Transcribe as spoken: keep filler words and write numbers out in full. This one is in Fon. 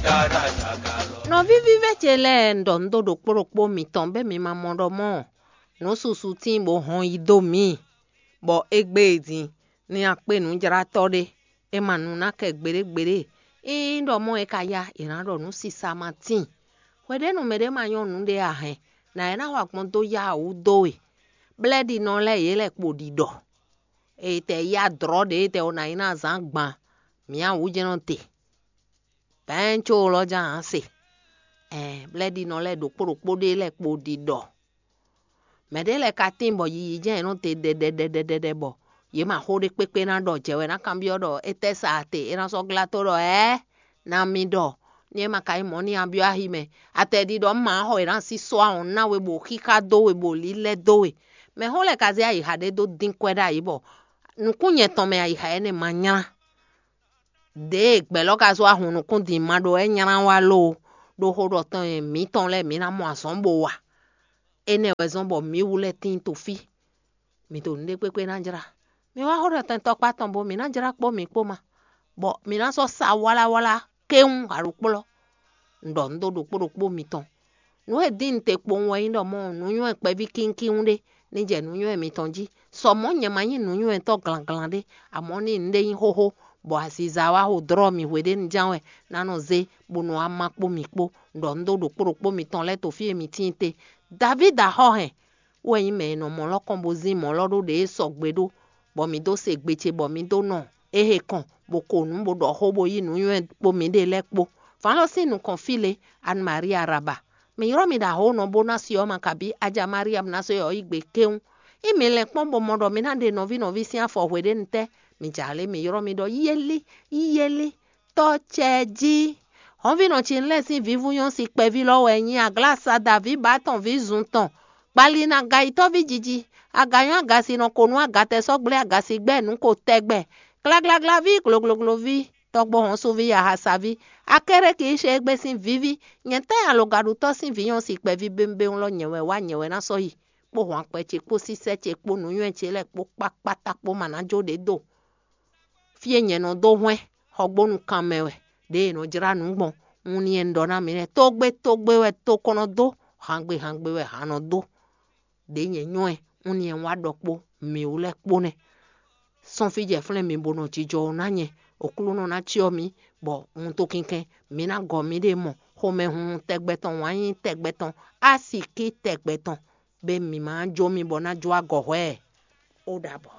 Nɔví vívɛ́ ce lɛ́ɛ, un ɖɔ nǔ dó ɖokpó ɖokpó mitɔn bɔ mi ma mɔ ɖɔ mɔ̌ nǔ susu tíin bó hɔn yi dó mǐ, bɔ égbé e din ní akpé nǔjlátɔ́ ɖé, é ma nu ná kɛ gbeɖé gbeɖé. Ényí ɖɔ mɔ̌ é ka yá, è nǎ ɖɔ nǔ sisa ma tíin. Hweɖěnu mɛɖé ma nyɔ́ nǔɖé a hɛn, nǎ é ná wa gbɔn dó yá wǔ dó we. Blɛ́ɖinɔ lɛ́ɛ yě lɛ́ kpo ɖiɖɔ. È tɛ yá dlɔ̌ ɖě tɛ ɔ́ ná nyí ná zǎn gban mǐ awǔjɛ́nɔ te. Bɛ̌ncó lɔ́ ján ǎ se. Ɛɛ, blɛ́ɖinɔ lɛ́ɛ ɖokpó ɖokpó ɖé lɛ́ɛ kpo ɖiɖɔ. Mɛ̌ ɖé lɛ́ɛ ka tíin bɔ yiyi jɛ́n yě nɔ te ɖɛɖɛɖɛɖɛɖɛ bɔ yě ma xó ɖé kpékpé ná ɖɔ jɛ wɛ ná kanbyɔ́ ɖɔ étɛ́ sa te é ná sɔ́ glá tó ɖɔ ɛ̌, ná mi ɖɔ ní é ma ka nyí mɔ̌ n'i a byɔ́ axi mɛ. Atɛ ɖiɖɔ un ma xɔ è nǎ sí sɔ́ awɔn ná we bɔ xíxá dó we bɔ lílɛ́ dó we. Mɛ̌ xó lɛ́ɛ ka zé ayixa ɖé dó dín kwɛ́ ɖ'ayǐ bɔ nukún nyɛ tɔn mɛ ayixa énɛ́ ma nylá. Ɖěe gbɛ̌ lɔ́ ka zɔ́ ahun nukún din ma ɖó wɛ nylá wá lo, ɖó xó ɖɔ tɔn e mǐtɔn lɛ́ɛ mǐ ná mɔ azɔ̌ bo wa. Énɛ́ wɛ zɔ́n bɔ mǐ wú lɛ́ɛ tíin to fí. Mǐ ɖo nǔɖé kpékpé ná jlá. Mi wá xó ɖɔ tɛn tɔkpá tɔn bo mǐ ná jlá kpó mǐ kpó ma, bɔ mǐ ná sɔ́ sa wláwlá kéwún aɖokplɔ́. Un ɖɔ nǔ dó ɖokpó ɖokpó mitɔn. Nǔ e dín un te kpowun wɛ nyí ɖɔ mɔ̌ nǔnywɛ́ kpɛví kínkín ɖé ní jɛ nǔnywɛ́ mitɔn jí. Sɔ mɔ̌ nyɛ ma nyí nǔnywɛ́tɔ́ glanglan ɖé, amɔ̌ ní nǔɖé nyí xóxó, bɔ aziza wá xo dlɔ́ mì hweɖénu ján wɛ ná nɔ zé, bó nɔ wá má kpó mi kpó. Un ɖɔ nǔ dó ɖokpó ɖokpó mitɔn lɛ́ɛ to fí e mi tíin te. Davídi axɔ́ hɛn, wɛ nyí mɛ e nɔ mɔ lɔ́ kɔn bó zín mɔ̌ lɔ́ ɖó ɖě e sɔgbe ɖó, bɔ mǐ dó se gbe ce bɔ mǐ dó nɔ é he kɔn, bó ko nǔ, bó ɖɔ xó, bó yí nǔnywɛ́ kpó mǐɖée lɛ́ɛ kpó. Vǎn lɔ sín nukɔn fí lě, Anne Marie Araba. Mǐ ylɔ́ mi ɖo ahǒnɔ bó ná si ɔ́ ma kabí Aja Mariam ná sɔ́ yɔ yi gbe kéwún. Ényí mǐ lɛ́n kpɔ́n bó mɔ ɖɔ mǐ ná ɖe nɔví nɔví sín afɔ hweɖénu tɛ́, mǐ jǎ lé mǐ ylɔ́ mi ɖɔ yíyélí, yíyélí, tɔ́ cɛ jí. Hɔnvínɔ ce lɛ́ɛ sín vǐvú nyɔ́ si kpɛví lɔ́ wɛ nyí aglásada vǐ bǎ tɔn vǐ zun tɔn, gbali nú agayitɔ́ví jiji, aganyɔ́ agasinɔ ko nú agatɛsɔ́gblé agasigbɛ́ nǔ ko tɛgbɛ, glaglaglaví, gloglogloví, tɔ́gbó hɔnsuví, ahasaví, akéré ki yi se égbé sín vǐví, nyɛ̌tɛ́ alɔgaɖutɔ́ sín vǐ nyɔ́ si kpɛví bémbéwún lɔ nyɛ wɛ wá nyɛ wɛ ná sɔ́ yi, kpó hwankpɛ ce kpó sísɛ́ ce kpó nǔnywɛ́ ce lɛ́ɛ kpó kpákpátá kpó ma ná jó ɖě do. Fí e nyɛ nɔ dó hwɛ́n xɔgbónu kan mɛ wɛ, ɖěe è nɔ jlá nǔ gbɔn, un ni un ɖɔ ná mi lɛ́ɛ, tógbé tógbé wɛ tó kɔn nɔ dó, hangbe hangbe wɛ han nɔ dó. Ɖě nyɛ nyɔ́ ɛ, un ni un wá ɖɔ kpó mǐ wú lɛ́ɛ kpó nɛ́. Sɔ́n fí jɛ flɛ́n mi bó nɔ jijɔ ná nyɛ, Aklúnɔ ná cyɔ́ mi, bɔ wuntun kinkɛn mi ná gɔ miɖée mɔ, xomɛhunhun tɛgbɛ tɔn, wǎn yíyí tɛgbɛ tɔn, asiki tɛgbɛ tɔn, bɔ mi ma jó mi bɔ ná jó agɔ hwɛ́ ɛ. Ó ɖabɔ.